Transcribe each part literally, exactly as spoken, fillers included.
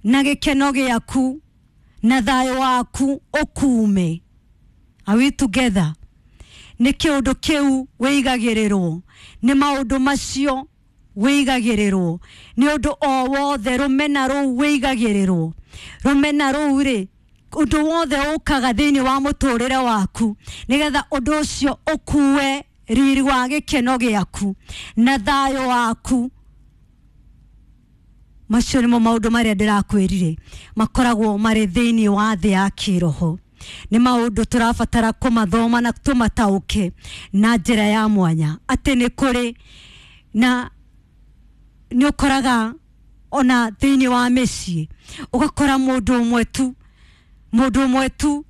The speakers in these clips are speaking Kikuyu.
Na gĩkeno gĩaku na thayũ waku ũkume. Are we together? Nĩ kĩũndũ kĩu wĩigagĩrĩrwo, nĩ maũndũ macio wĩigagĩrĩrwo, nĩ ũndũ o wothe rũmena rũu wĩigagĩrĩrwo. Rũmena rũu rĩ, ũndũ wothe ũkaga thĩinĩ wa mũtũrĩre waku nĩgetha ũndũ ũcio ũkue riri wa gĩkeno gĩaku na thayũ waku. Macio nĩmo maũndũ marĩa ndĩrakwĩrire makoragwo marĩ thĩinĩ wa thĩ ya kĩroho. Nĩ maũndũ tũrabatara kũmathoma na tũmataũke na njĩra ya mwanya, atĩ nĩ kũrĩ na nĩ ũkoraga ona thĩinĩ wa mĩciĩ ũgakora mũndũ ũmwe tu, mũndũ ũmwe tu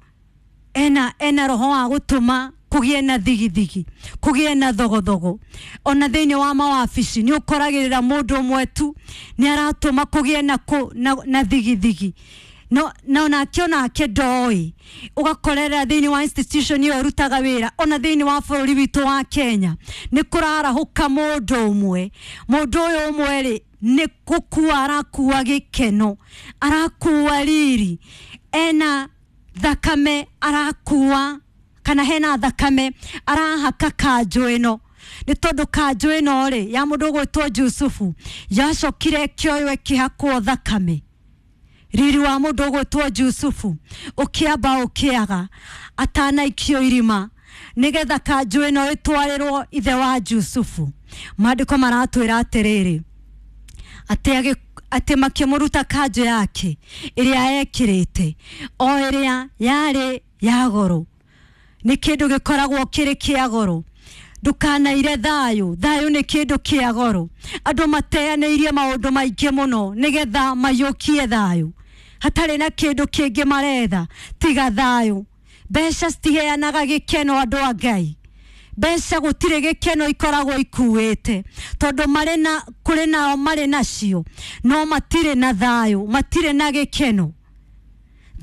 ena ena roho wa gũtũma kũgĩe na thigithigi, kũgĩe na thogothogo. Ona thĩinĩ wa mawabici nĩ ũkoragĩrĩra mũndũ ũmwe tu nĩ aratũma kũgĩe na, kũ, na, na thigithigi. No na onake onake ndoĩ. Ũgakorera thĩinĩ wa institution ĩyo ũrutaga wĩra, ona thĩinĩ wa bũrũri witũ wa Kenya nĩ kũrarahũka mũndũ ũmwe. Mũndũ ũyũ ũmwe rĩ, nĩ gũkua arakua gĩkeno, arakua riri, ena thakame arakua, kana hena thakame arahaka kanjũ ĩno. Nĩ tondũ kanjũ ĩno rĩ ya mũndũ ũgwĩtwo Jusufu yacokire ĩkĩoywo ĩkĩhakwo thakame. Riri wa mũndũ ũgwĩtwo Jusufu ũkĩamba ũkĩaga atanaikio irima, nĩgetha kanjũ ĩno ĩtwarĩrwo ithe wa Jusufu. Maandĩko maratwĩra atĩrĩrĩ, atĩ atĩ makĩmũruta kanjũ yake ĩrĩa ekĩrĩte, o ĩrĩa yarĩ ya goro. Nĩ kĩndũ gĩkoragwo kĩrĩ kĩa goro. Ndũkanaire thayũ, thayũ nĩ kĩndũ kĩa goro. Andũ mateanĩirie maũndũ maingĩ mũno nĩgetha maiyũkie thayũ, hatarĩ na kĩndũ kĩngĩ maretha tiga thayũ. Mbeca citiheanaga gĩkeno andũ a Ngai. Mbeca gũtirĩ gĩkeno ikoragwo ikuĩte, tondũ marĩ na, kũrĩ nao marĩ nacio no matirĩ na thayũ, matirĩ na gĩkeno.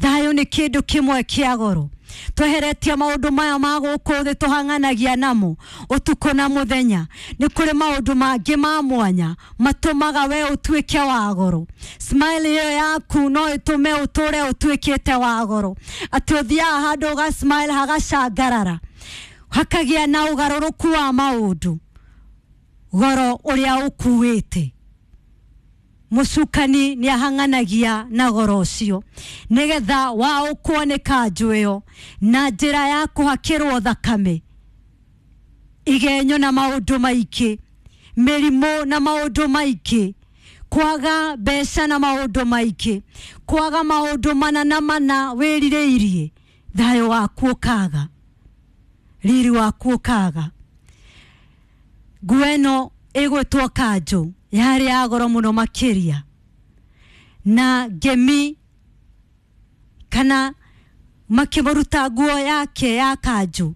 Thayũ nĩ kĩndũ kĩmwe kĩa goro. Tweheretie maũndũ maya ma gũkũ thĩ tũhang'anagia namo ũtukũ na mũthenya, nĩ kũrĩ maũndũ mangĩ ma mwanya matũmaga we ũtuĩke wa goro. Smile ĩyo yaku no ĩtũme ũtũre ũtuĩkĩte wa goro, atĩ ũthiaga handũ ũga smile hagacangarara, hakagĩa na ũgarũrũku wa maũndũ. Goro ũrĩa ũkuĩte, mũcukani nĩ ahang'anagia na goro ũcio nĩgetha waũkwo nĩ kanjũ ĩyo na njĩra ya kũhakĩrwo thakame, igenyo na maũndũ maingĩ, mĩrimũ na maũndũ maingĩ, kwaga mbeca na maũndũ maingĩ, kwaga maũndũ mana na mana wĩrirĩirie, thayũ waku ũkaga, riri waku ũkaga. Nguo ĩno ĩgwĩtwo kanjũ yarĩ ya goro mũno makĩria, na ngemi kana makĩmũruta nguo yake ya kanjũ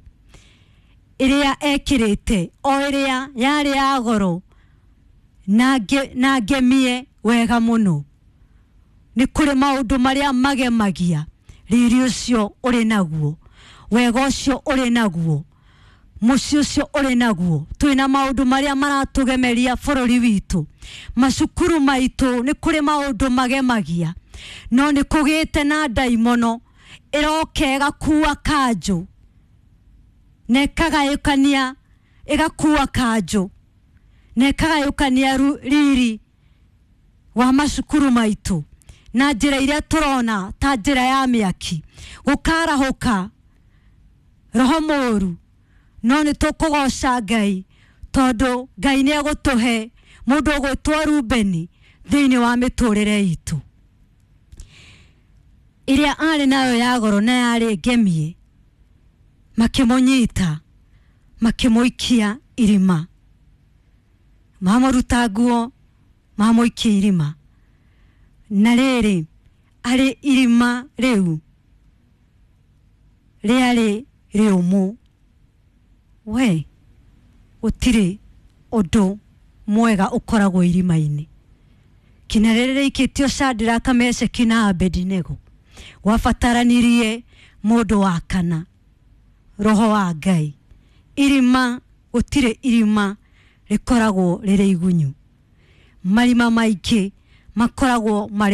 ĩrĩa ekĩrĩte, o ĩrĩa yarĩ ya goro na nge, na ngemie wega mũno. Nĩ kũrĩ maũndũ marĩa magemagia riri ũcio ũrĩ naguo, wega ũcio ũrĩ naguo, mũciĩ ũcio ũrĩ naguo. Twĩna maũndũ marĩa maratũgemeria bũrũri witũ, macukuru maitũ nĩ kũrĩ maũndũ magemagia, no nĩ kũgĩte na ndaimono ĩroka ĩgakua kanjũ na ĩkagayũkania, ĩgakua kanjũ na ĩkagayũkania riri wa macukuru maitũ na njĩra iria tũrona ta njĩra ya mĩaki, gũkarahũka roho mũũru. No nĩ tũkũgoca Ngai tondũ Ngai nĩ egũtũhe mũndũ ũgwĩtwo Rubeni thĩinĩ wa mĩtũrĩre itũ. Ĩrĩa arĩ nayo ya goro na yarĩ ngemie, makĩmũnyita makĩmũikia irima, mamũruta nguo mamũikia irima. Na rĩrĩ, arĩ irima rĩu rĩarĩ rĩũmũ, we gũtirĩ ũndũ mwega ũkoragwo irima-inĩ. Kinya rĩrĩ rĩikĩtio Shadraka, Meshaki na Abednego, gwabataranirie mũndũ wa kana, roho wa Ngai. Irima, gũtirĩ irima rĩkoragwo rĩrĩ igunyu. Marima maingĩ makoragwo marĩ